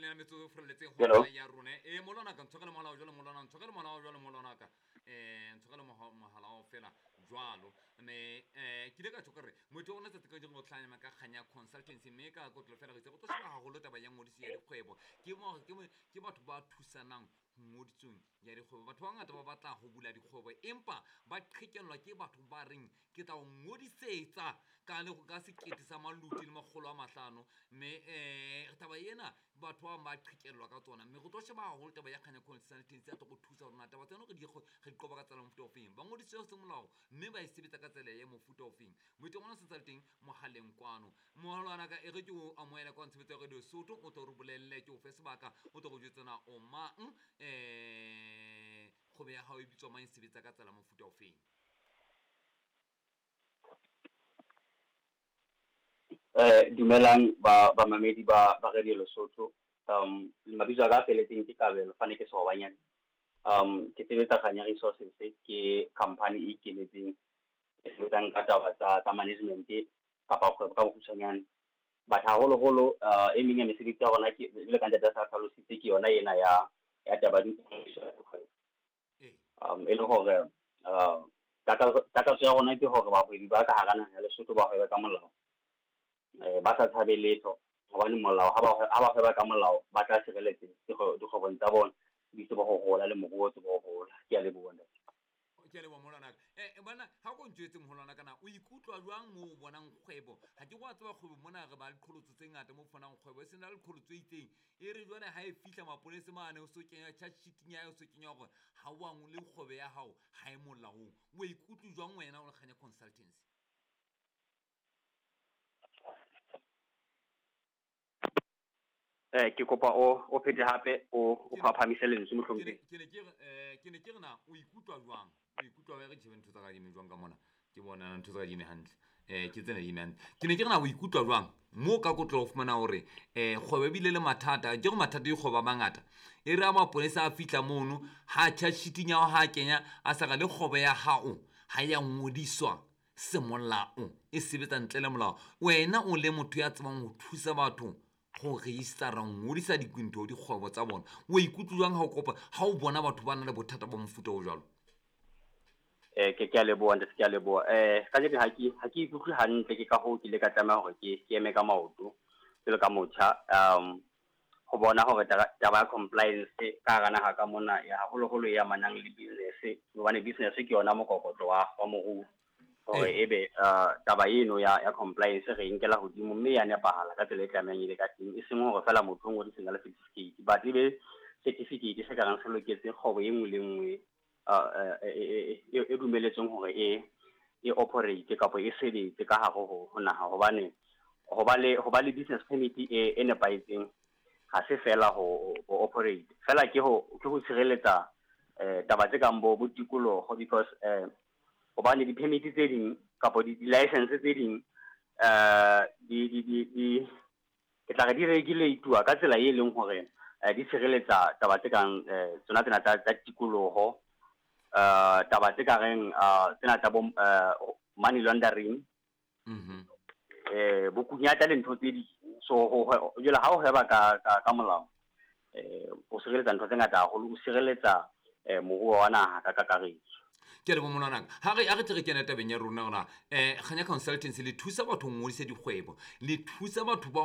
le na metsotso e furaletseng Hello. hora ya rona. E molwana ka ntshwarele mohala wa jwalo, molwana ntshwarele mohala wa jwalo, molwana ka. Ntshwarele mohala wa fela jwalo. Mme ke ile ka tjho ka re motho o rona tsatsi ka jeno o tlhanya ka kganya consultancy, mme ka kotlo fela re itse go tlo sheba haholo taba ya ngodiso ya dikgwebo. Ke mo ke mo ke batho ba thusanang ngodisong ya dikgwebo. Batho ba bangata ba batla ho bula dikgwebo, empa ba qhekellwa ke batho ba reng ke tla o ngodisetsa ka le ka sekete sa maluti le makgolo a mahlano. Mme taba ena batho ba bang ba qhekellwa ka tsona. Mme re tlo sheba haholo taba ya Kganya Consultancy ya tlo go thusa hore na taba tsena re di qoba ka tsela ya mofuta ofeng. Ba ngodisitswe semolao mme ba e sebetsa ka tsela ya mofuta ofeng. Moeti wa rona se sa le teng mohaleng kwano. Moholwana ka e re ke o amohela kwa Ntshebetso ya Radio Sotho, o tlo re bolelle, ke o fe sebaka, o tlo re jwetsa na o mang, kgwebo ya hao e bitswa mang, e sebetsa ka tsela ya mofuta ofeng. Dumelang ba bamamedi ba Radio Lesotho. Mabitso a ka a felletseng ke Kabelo Fane ke Sehobanyane. Ke sebetsa Kganya Resources, ke company e ikemetseng e sebetsang ka taba tsa management kapa kgwebo ka bokgutshwanyane. But haholoholo e meng ya mesebetsi ya rona ke jwalo ka ntate a sa hlalositse, ke yona ena ya taba ya dikgwebo. E le hore takatso ya rona ke hore bahwebi ba ka hara naha ya Lesotho ba hwebe ka molao, ba sa tshabe letho, hobane molao ha ba hweba ka molao ba tla sireletsa dikgwebong tsa bona, di tsebe ho hola le moruo o tsebe ho hola. Ke a leboha ntate. Ke a leboha moholwana ka. Bana ha ko ntjwetse moholwana ka na o ikutlwa jwang mo o bonang kgwebo? Ha ke wa tseba kgwebo mona re ba le qholotso tse ngata mo fonang kgwebo, e sena le qholotso e itseng. E re jwale ha e fihla mapolesa mane o so kenya charge sheet ya o so kenya hore ha o angole kgwebo ya hao ha e molaong. O ikutlwa jwang wena o le Kganya Consultancy? Ke kopa o phete hape o phaphamise lentswe mohlomphehhi. Ke ne ke re na o ikutlwa jwang? O ikutlwa re tjhebe ntho tsa ka di eme jwang ka mona? Ke bona ntho tsa ka di eme hantle. Ke tsena di eme hantle. Ke ne ke re na o ikutlwa jwang mo ka kotlo ho fumana hore kgwebo e bile le mathata, ke re mathata dikgwebo a mangata. E re a mapolesa a fihla mono, ha charge sheet ya hao ha kenya a sa re le kgwebo ya hao ha ya ngodiswa semolao, e sebetsa ntle le molao. Wena o le motho ya tsebang ho thusa batho go registera, ngodisa dintho dikgwebo tsa bona, o ikutlwa jwang ha o kopa, ha o bona batho ba na le bothata ba mofuta o jwalo? Ke a leboha ntate, ke a leboha. Ka nnete ha ke ikutlwe hantle, ke ka hoo ke ile ka tlameha hore ke eme ka maoto jwalo ka motjha, ho bona hore taba ya compliance ka hara naha ka mona ya haholoholo e amanang le business, hobane business ke yona mokokotlo wa moruo. Hore ebe taba eno ya compliance re nkela hodimo mme ya nepahala ka tsela e tlamehang e be ka teng, e seng hore fela motho o ngodiseng ka le certificate, but ebe certificate se ka reng se loketse kgwebo e nngwe le nngwe e dumeletsweng hore e operate kapa e sebetse ka hare ho naha. Hobane ho ba le business permit e nepahetseng ha se fela ho operate fela, ke ho tshireletsa taba tse kang bo tikoloho, because hobane di-permit tse ding kapa di-license tse ding di ke tla re di regulate-wa ka tsela e leng hore di tshireletsa taba tse kang tsona tsena tsa tikoloho, taba tse ka reng tsena tsa bo money laundering, bokunyata le ntho tse ding. So jwale ha o hweba ka molao, o sireletsa ntho tse ngata haholo, o sireletsa moruo wa naha ka kakaretso. Ke le bomolwana ha re tle re kene tabeng ya rona hona Kganya Consultancy le thusa batho ho ngodisa dikgwebo, le thusa batho ba